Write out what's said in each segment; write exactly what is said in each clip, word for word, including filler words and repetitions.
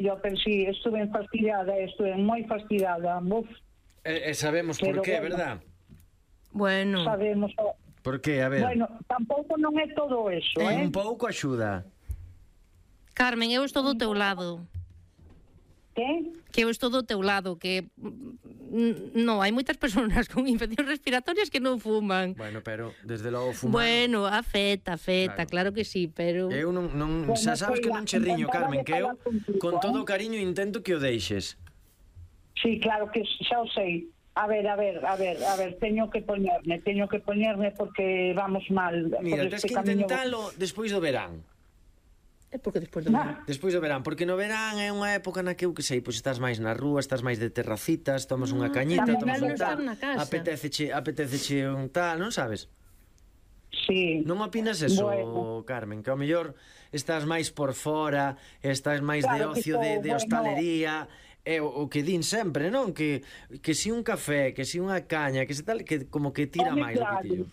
Yo, pero sí, estuve fastidiada, estuve moi fastidiada. Uf, E, e sabemos por Pero qué, bueno. verdad? Bueno, sabemos... Por qué, a ver. Bueno, tampouco non é todo eso, eh? Un pouco axuda. Carmen, eu estou do teu lado. Que? Que eu estou do teu lado, que mm, no, hai moitas persoas con infeccións respiratorias que non fuman. Bueno, pero desde logo fumar. Bueno, afecta, afecta, claro, Claro. que sí, pero Eu non, non Bueno, xa sabes que non che riño, encantada Carmen, de que eu falar contigo, con todo eh. o cariño intento que o deixes. Sí, claro que xa o sei. A ver, a ver, a ver, a ver, teño que poñerme, teño que poñerme porque vamos mal. Mira, por tens este que camiño. intentalo despois do verán. é porque despois do Nah. Despois do verán, porque no verán é unha época na que eu que sei, pois estás máis na rúa, estás máis de terracitas, tomas unha cañita, tamén tomas é un non tal, estar na casa. apetéceche, apetéceche un tal, non sabes? Sí. Non opinas eso, Bueno. Carmen? Que ao mellor estás máis por fora, estás máis Claro de que ocio, estou, de, de bueno. hostalería, é o, o que din sempre, non? Que, que si un café, que si unha caña, que se tal, que como que tira Home, máis do claro. que tillo.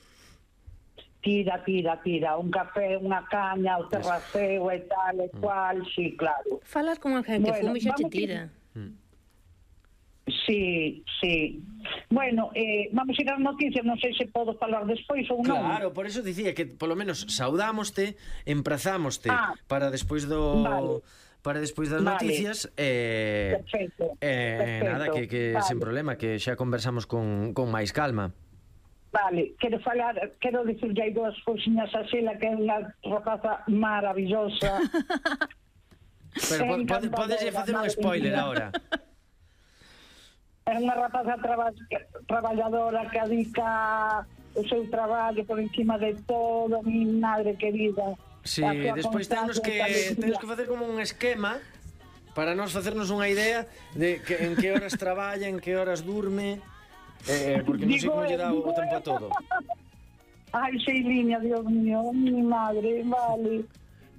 Tira, tira, tira. Un café, unha caña, o terraceo e tal e cual, sí, claro. Falas con alguén que Bueno, fume xa che vamos que- tira. Sí, sí. Bueno, eh, vamos ir ás noticias, non sei se podo falar despois ou non. Claro, por eso dicía que polo menos saudámoste, emprazámoste Ah. para despois do Vale. para despois das Vale. noticias e Perfecto, eh, perfecto. nada, que, que Vale. sen problema, que xa conversamos con, con máis calma. Vale, quero falar, quero dicirlle aí dúas cousiñas a Xela, que é unha rapaza maravillosa. Pero po, pode, podes facer un spoiler agora. É unha rapaza traba, traballadora que adica o seu traballo por encima de todo, mi madre querida. Sí, A súa despois temos que constancia, temos que facer como un esquema para nós facernos unha idea de que, en que horas traballa, en que horas durme, eh, porque non sei Digo, como lle dá o digo, tempo a todo. Ai, Xeiliña, Dios mío, mi madre, vale.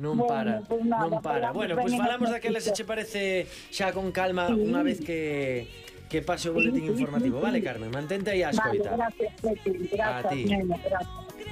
Non Bueno, para, pues nada, non para. falamos Bueno, ben pois en falamos as daquela se noticias. che parece xa con calma unha vez que que pase o boletín Sí, sí, informativo. sí, Vale, sí. Carmen, mantente aí a Vale, escoita. gracias, Pepe, A ti. gracias, nena, gracias.